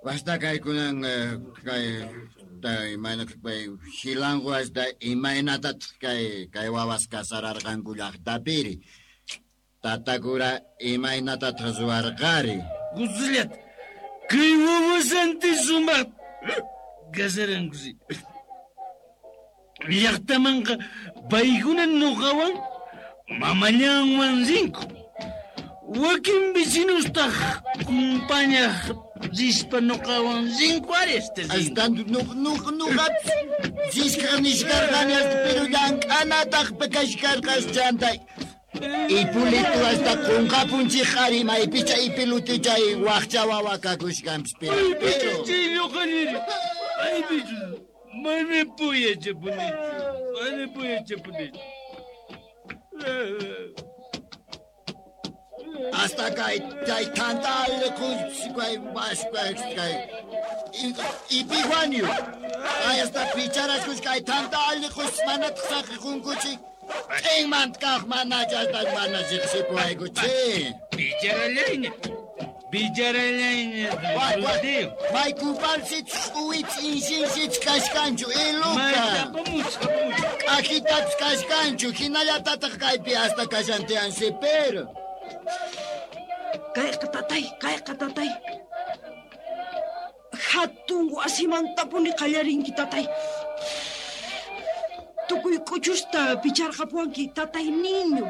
Wasta kaykunan kay imayna kay Xilanqu hasta imaynatataq kay wawas kasararqanku llaqtapiri. Tatakura imaynatataq ruwarqari. Guzillat kay wawasanti sumaq kasarankusi. Llaqtamanqa paykuna nuqawan mamallanwan rinku. Wakin vecinostaq kumpañaq rispa nuqawan rinku ari hasta rinku. Hasta nuqapis risqa nishkarqani hasta pero llank'anataq kashkarqas chanta. Ipulitu hasta qunqapunchik ari maypicha ipiluti chay waqcha wawa kakushkanpis pero. Maypicha chay lluqalliri. Maypicha. Mana puyachapunichu. Mana puyachapunichu. Hasta kay chay tanta allqus kay waspa kay ipijuanyu. Ay hasta picharaskus kay tanta allqus manataq saqiqunkuchik. Ch'inmanta kaq mana chayta mana riqsipuwaykuchik. Picharallayña. Picharallayña. May kupalsich uwich inshinshich kashkanchu iluka. K'ajitapis kashkanchu hinallatataq kaypi hasta kashantiansi pero. Kayqa tatay, kayqa tatay. Hatun wasimantapuni qallarinki tatay. Tukuy k'uchusta picharqapuwanki tatay niño.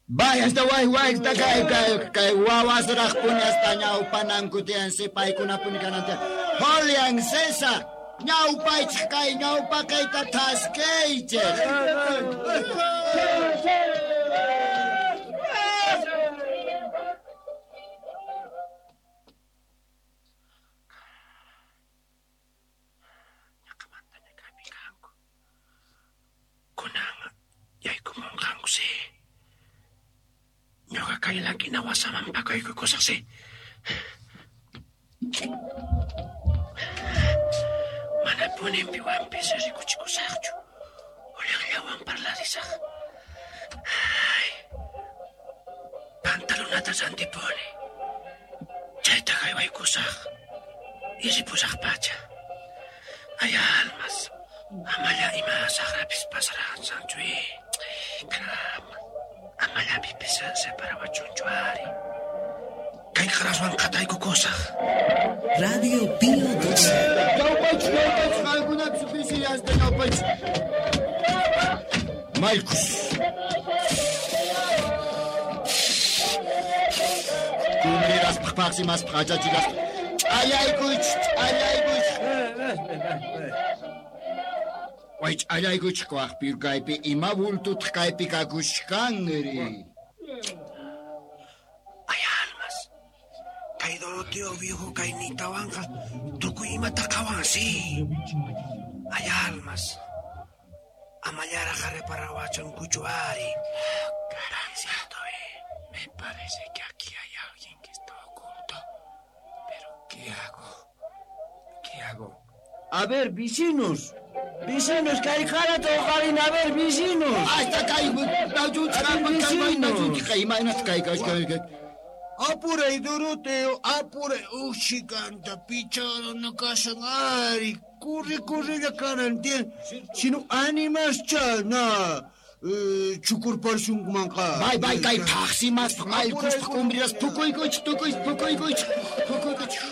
Vaya hasta way way hasta kay kay kay wawasraqpuni hasta ñawpananku tiyansi paykunapuni kanan tiyan. Julian César ñawpaychik kay ñawpaqayta thaskaychik. Yaykumunqankusi. Ñuqa kay lankina wasaman pakaykukusaqsi. Manapunin piwanpis rikuchikusaqchu. Uliqllawan parlarisaq. Ay, pantalonata rantipuni. Chayta haywaykusaq. Y ripusaq pacha. Ay, almas. Amalla ima saqrapis pasaraqsanchu. Caramba. Amalla pipis separawachunchu ari. Kay qaraswan qataykukusaq. Radio Pío 12. Ñawpaychik, ñawpaychik, qankunapis pisi hasta ñawpaychik. Maykus. Kumriraspaq paqsimaspaq achachilaspa. Ch'allaykuychik, ch'allaykuychik. Way ch'allaykuchik waqpi kaypi ima bultutaq kaypi kakushkanri. Ay almas. Kay Doroteo viejo kay nitawanqa tukuy imata qhawansi. Ay almas. Amallaraq reparawachunkuchu ari. Caramba. Me parece que aquí hay alguien que está oculto. Pero ¿qué hago? ¿Qué hago? A ver, vecinos. Vecinos, kay qarata uqarin, a ver, vecinos. Hasta kay Apuray, Doroteo, apuray. Ushikanta picharana kashan ari. Corre, corre kanan tiyan. Sino animascha na chukurparshunkumanqa. Bay, bay, kay paqsimaspa maykuspa kumbriras pukuykuchik, tukuychik, pukuykuchik, pukuykuchik.